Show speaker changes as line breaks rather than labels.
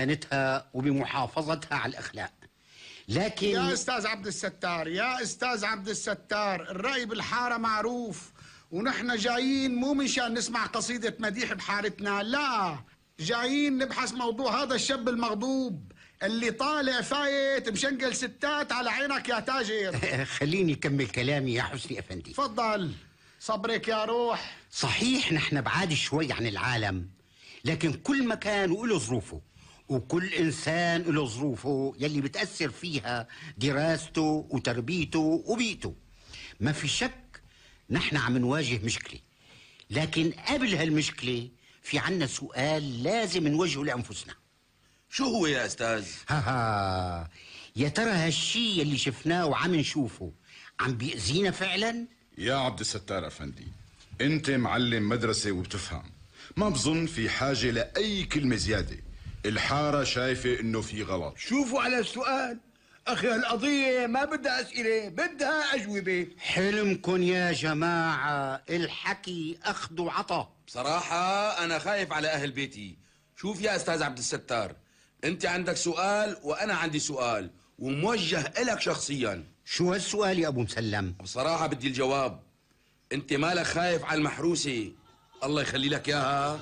بصيانتها وبمحافظتها على الأخلاق. لكن
يا أستاذ عبد الستار، يا أستاذ عبد الستار، الرأي بالحارة معروف، ونحن جايين مو مشان نسمع قصيدة مديح بحارتنا، لا، جايين نبحث موضوع هذا الشاب المغضوب اللي طالع فايت مشنقل ستات على عينك يا تاجر.
خليني أكمل كلامي يا حسني أفندي.
تفضل. صبرك يا روح.
صحيح نحن بعاد شوي عن العالم، لكن كل مكان وله ظروفه، وكل إنسان له ظروفه يلي بتأثر فيها دراسته وتربيته وبيئته. ما في شك نحن عم نواجه مشكلة، لكن قبل هالمشكلة في عنا سؤال لازم نوجهه لأنفسنا.
شو هو يا أستاذ؟
يا ترى هالشي يلي شفناه وعم نشوفه عم بيأذينا فعلا؟
يا عبد الستار أفندي، أنت معلم مدرسة وبتفهم، ما بظن في حاجة لأي كلمة زيادة. الحارة شايفة إنه في غلط.
شوفوا على السؤال أخي، هالقضية ما بدها أسئلة، بدها أجوبة.
حلمكن يا جماعة، الحكي أخذ وعطا.
بصراحة أنا خايف على أهل بيتي. شوف يا أستاذ عبد الستار، أنت عندك سؤال وأنا عندي سؤال وموجه إلك شخصيا.
شو هالسؤال يا أبو مسلم؟
بصراحة بدي الجواب. أنت مالك خايف على المحروسة، الله يخلي لك إياها؟